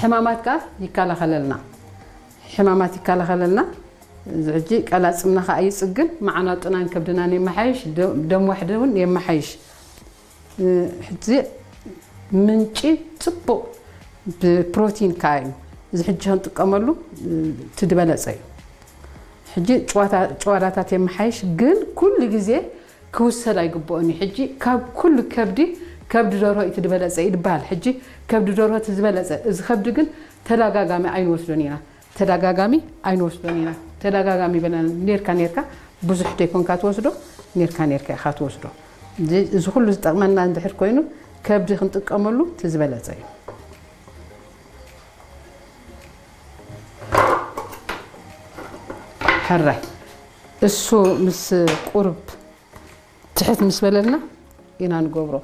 ሕማማት ከዓ ይከላኸለልና። ሕማማት ይከላኸለልና። እዚ ሕጂ ቀላፅምና ከዓ ይፅግን፣ መዓናጡናን ከብድናን የመሓይሽ፣ ደ- ደም ዋሕዲ እውን የመሓይሽ። እ፣ ሕጂ ምንጪ ፅቡቕ ብፕሮቲን ከዓ እዩ። እዚ ሕጂ ክንጥቀመሉ እ፣ እቲ ዝበለፀ እዩ። ሕጂ ጭዋታ- ጭዋዳታት የመሓይሽ፣ ግን ኩሉ ግዜ ክውሰድ ኣይግብኦን እዩ። ሕጂ ካብ ኩሉ ከብዲ ከብዲ ደርሆ እቲ ዝበለፀ እዩ ዝበሃል። ሕጂ ከብዲ ደርሆ እቲ ዝበለፀ፣ እዚ ከብዲ ግን ተደጋጋሚ ኣይንወስዶን ኢና። ተደጋጋሚ ኣይንወስዶን ኢና። ተደጋጋሚ በለና ኔርካ ኔርካ ብዙሕ ደይኮንካ ትወስዶ፣ ኔርካ ኔርካ ኢኻ ትወስዶ። እዚ- እዚ ኩሉ ዝጠቕመና እንድሕር ኮይኑ ከብዲ ክንጥቀመሉ እቲ ዝበለፀ እዩ። ሕራይ እሱ ምስ ቁርብ ትሕት ምስ በለልና ኢና ንገብሮ።